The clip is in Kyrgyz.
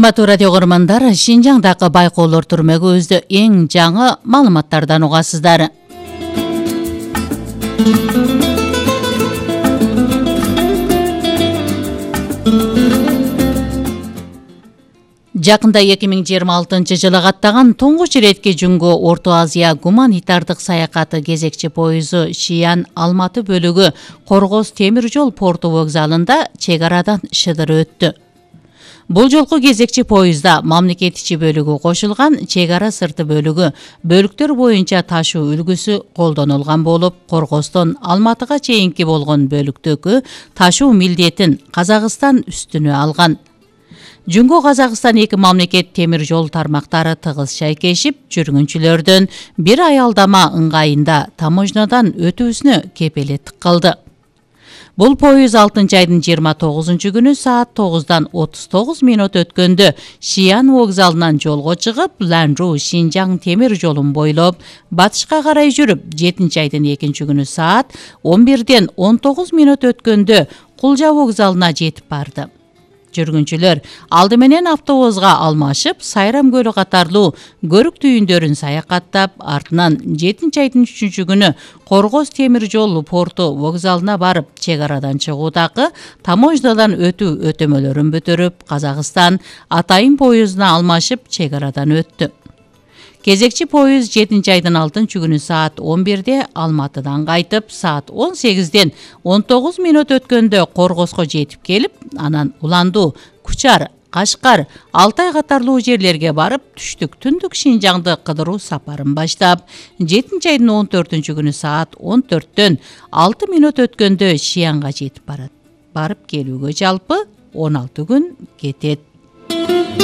Урматтуу радио көрөрмандар, Шинжаңдагы байкоолор түрмөгүбүздө эң жаңы маалыматтардан угасыздар. Жакында 2026 жылы каттаган туңгуч иретке жүнгө Орто Азия гуманитардык саякаты кезекчи поезу Шиян Алматы бөлүгү Коргоз темир жол порту вокзалында чек арадан шыдыр өттү. Бул жолку кезекчи поезда мамлекет ичи бөлүгү кошулган чек ара сырты бөлүгү бөлүктөр боюнча ташуу үлгүсү колдонулган болуп, Коргоздон Алматыга чейинки болгон бөлүктөгү ташуу милдетин Казакстан үстүнө алган. Жүнгө Казакстан эки мамлекет темир жол тармактары тыгыз шайкешип, жүргүнчүлөрдөн бир аялдама ыңгайында таможнядан өтүүсүнө кепелеттик кылды. Бул поез 6 айдын 29 күнү саат 9-дан 39 мүнөт өткөндө Шиян вокзалынан жолго чыгып, Ланжу Шинжаң темир жолун бойлоп, батышка карай жүрүп, 7 айдын 2 күнү саат 11-ден 19 мүнөт өткөндө Кулжа вокзалына жетип барды. Жүргүнчүлөр алды менен автобуска алмашып, Сайрам көлү катарлуу көрүк түйүндөрүн саякаттап, артынан 7 айдын 3 күнү Коргоз темир жол порту вокзалына барып, чек арадан чыгуудагы таможнядан өтүү өтөмөлөрүн бүтүрүп, Казакстан Атайын поездуна алмашып, чек арадан өттү. Кезекчи поезд 7 айдын 6 күнү саат 11-де Алматыдан кайтып, саат 18-ден 19 мүнөт өткөндө Коргозго жетип келип, анан Уланду, Кучар, Кашкар, Алтай катарлуу жерлерге барып, түштүк түндүк Шинжаңды кыдыруу сапарын баштап, 7 айдын 14 күнү саат 14-төн 6 мүнөт өткөндө Шиянга жетип барат. Барып келүүгө жалпы 16 күн кетет.